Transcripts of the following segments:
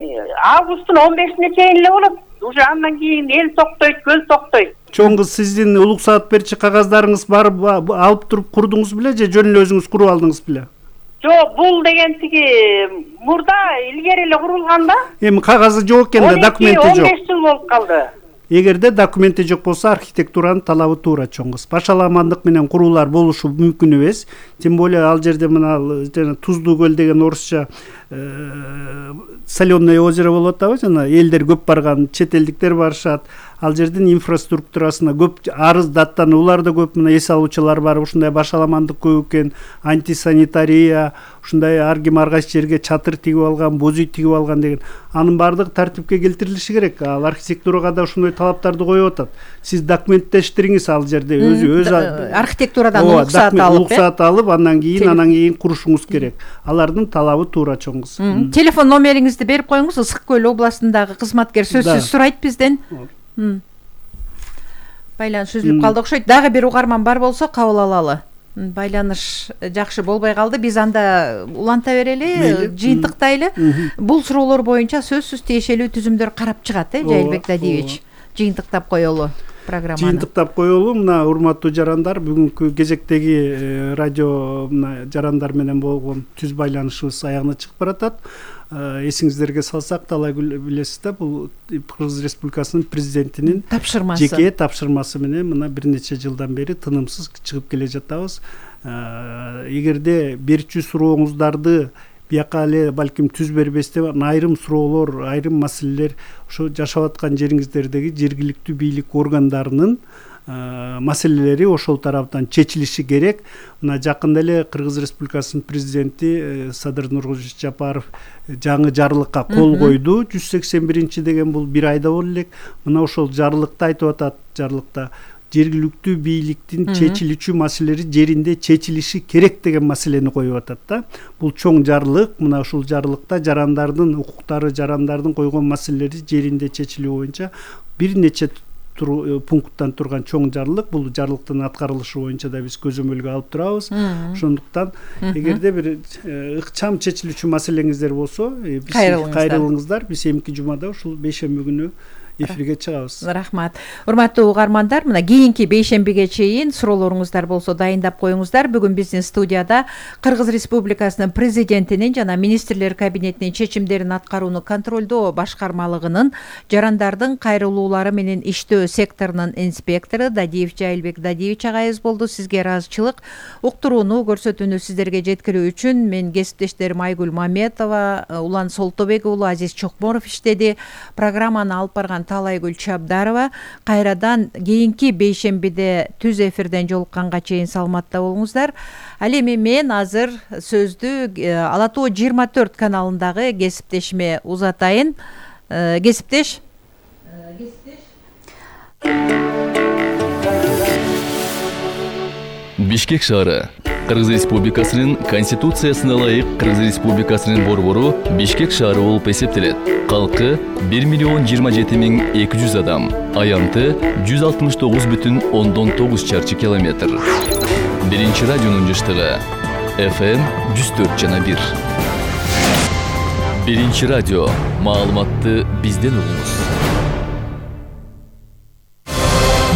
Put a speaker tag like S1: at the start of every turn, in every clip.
S1: Августтун 15-ине чейин эле болот. Уже андан кийин эл токтойт, көл токтойт.
S2: Чоң кыз, сиздин улук саат берчи кагаздарыңыз бар, алып туруп курдуңуз беле же жөн эле өзүңүз куруп алдыңыз беле?
S1: Жок, бул деген тиги мурда илгери эле курулган да.
S2: Эми кагазы жок экен да, документи жок.
S1: 15 жыл болуп калды.
S2: Эгерде документи жок болсо, архитектуранын талабы туура, чоң кыз. Башаламандык менен куруулар болушу мүмкүн эмес. Тем более ал жерде мына жана Туздуу көл деген орусча соленое озеро болуп атабы, жана элдер көп барган, чет элдиктер барышат. Ал жердин инфраструктурасына көп арыз даттануулар да көп, мына эс алуучулар бар, ушундай башаламандык көп экен, антисанитария, ушундай ар ким ар кайсы жерге чатыр тигип алган, боз үй тигип алган деген. Анын баардыгы тартипке келтирилиши керек. Ал архитектурага да ушундай талаптарды коюп атат. Сиз документтештириңиз ал жерде өзү
S3: архитектурадан уруксаат
S2: алып, андан кийин курушуңуз керек. Алардын талабы туура, чоң кыз.
S3: Телефон номериңизди берип коюңуз. Ысык көл областындагы кызматкер сөзсүз сурайт бизден. Байланыш үзүлүп калды окшойт. Дагы бир угарман бар болсо кабыл алалы. Байланыш жакшы болбой калды. Биз анда уланта берели, жыйынтыктайлы. Бул суроолор боюнча сөзсүз тиешелүү түзүмдөр карап чыгат, Жайылбек Дадиевич. Жыйынтыктап коелу программаны.
S2: Жыйынтыктап коелу. Мына урматтуу жарандар, бүгүнкү кезектеги радио жарандар менен болгон түз байланышыбыз аягына чыгып баратат. Эсиңиздерге салсак, Талайгүл билесиз да, бул Кыргыз Республикасынын президентинин жеке тапшырмасы менен мына бир нече жылдан бери тынымсыз чыгып келе жатабыз. Эгерде берчү сурооңуздарды бияка эле балким түз бербестен айрым суроолор, айрым маселелер ошо жашап аткан жериңиздердеги жергиликтүү бийлик органдарынын маселелери ошол тараптан чечилиши керек. Мына жакында эле Кыргыз Республикасынын президенти Садыр Нуркулович Жапаров жаңы жарлыкка кол койду. 181 деген бул бир айда боло элек. Мына ошол жарлыкта айтып атат, жарлыкта жергиликтүү бийликтин чечилүүчү маселелери жеринде чечилиши керек деген маселени коюп атат да. Бул чоң жарлык. Мына ушул жарлыкта жарандардын укуктары, жарандардын койгон маселелери жеринде чечилүү боюнча бир нече пункттан турган чоң жарлык. Бул жарлыктын аткарылышы боюнча да биз көзөмөлгө алып турабыз. Ошондуктан эгерде бир ыкчам чечилүүчү маселеңиздер болсо, кайрылыңыздар. Биз эмки жумада ушул бейшемби күнү эфирге чыгабыз.
S3: Рахмат. Урматтуу угармандар, мына кийинки бейшембиге чейин суроолоруңуздар болсо дайындап коюңуздар. Бүгүн биздин студияда Кыргыз Республикасынын президентинин жана министрлер кабинетинин чечимдерин аткарууну контролдоо башкармалыгынын жарандардын кайрылуулары менен иштөө секторунун инспектору Дадиев Жайылбек Дадиевич агайыбыз болду. Сизге ыраазычылык, уктурууну, көрсөтүүнү сиздерге жеткирүү үчүн мен кесиптештерим Айгүл Маметова, Улан Солтобек уулу, Азиз Чокморов иштеди. Программаны алып барган Талайгүл Чабдарова. Кайрадан кийинки бейшембиде түз эфирден жолукканга чейин саламатта болуңуздар. Ал эми мен азыр сөздү Ала Тоо 24 каналындагы кесиптешиме узатайын. Кесиптеш.
S4: Бишкек шаары. Кыргыз Республикасынын Конституциясына ылайык Кыргыз Республикасынын борбору Бишкек шаары болуп эсептелет. Калкы 1,27,200 адам. Аянты 169,9 чарчы километр. Биринчи радионун жыштыгы FM 104,1. Биринчи радио. Маалыматты бизден угуңуз.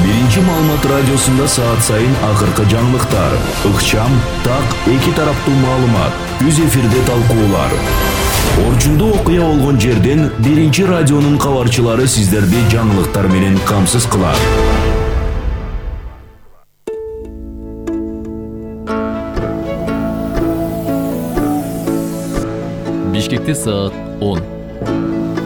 S5: Биринчи маалымат радиосунда саат сайын акыркы жаңылыктар, ыкчам, так, эки тараптуу маалымат, түз эфирде талкуулар. Орчундуу окуя болгон жерден биринчи радионун кабарчылары сиздерди жаңылыктар менен камсыз кылат.
S4: Бишкекте саат 10.